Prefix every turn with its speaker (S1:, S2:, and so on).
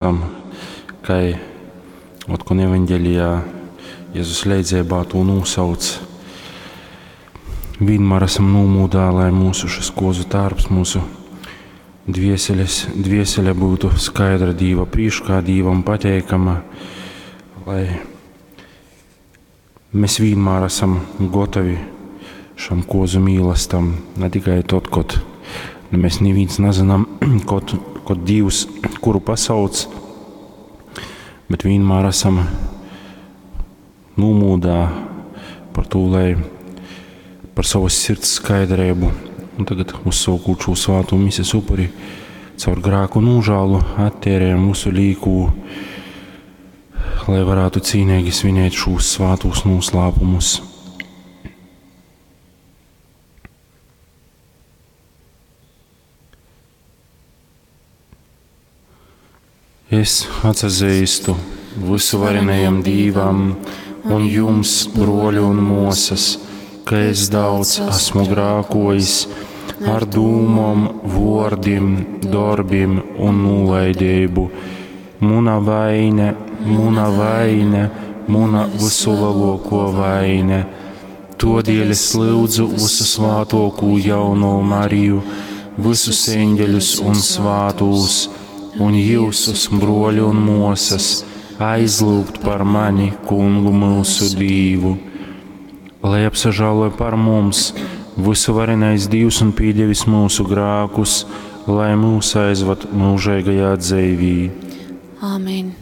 S1: Tam, kai otkon evaņgelijā Jezus leidzeibā tū nūsauc, vienmēr esam nūmūdā, lai mūsu šis kozu tārps, mūsu dvieseles, dviesele būtu skaidra Dīva prīškā, Dīvam pateikama, lai mēs vienmēr esam gotovi šam kozu mīlastam, ne tikai tad, kad nu, mēs neviens nezinām, kad, kad Dievs kuru pasauc, bet vienmēr esam nūmūdā par to, lai par savas sirds skaidrību. Un tagad uzsaukot šo svāto mises upuri, caur grēku nožēlu attērējam mūsu līku, lai varētu cīnīgi svinēt šos svātos noslēpumus. Es atsazīstu visuvarenajam Dīvam un jums, broļi un mosas, ka es daudz esmu grākojis ar dūmom, vordim, darbim un nolaidību. Muna vaine, muna vaine, muna visulielāko vaine. Todēļ es lūdzu visu svātokū jauno Mariju, visus eņģeļus un svātūs, un jūsus, broļi un mosas, aizlūgt par mani, kungu mūsu Dīvu. Lai apsažāloja par mums visuvarenais Dievs un piedevis mūsu grākus, lai mūs aizvad mūžīgajā dzīvī.
S2: Āmen.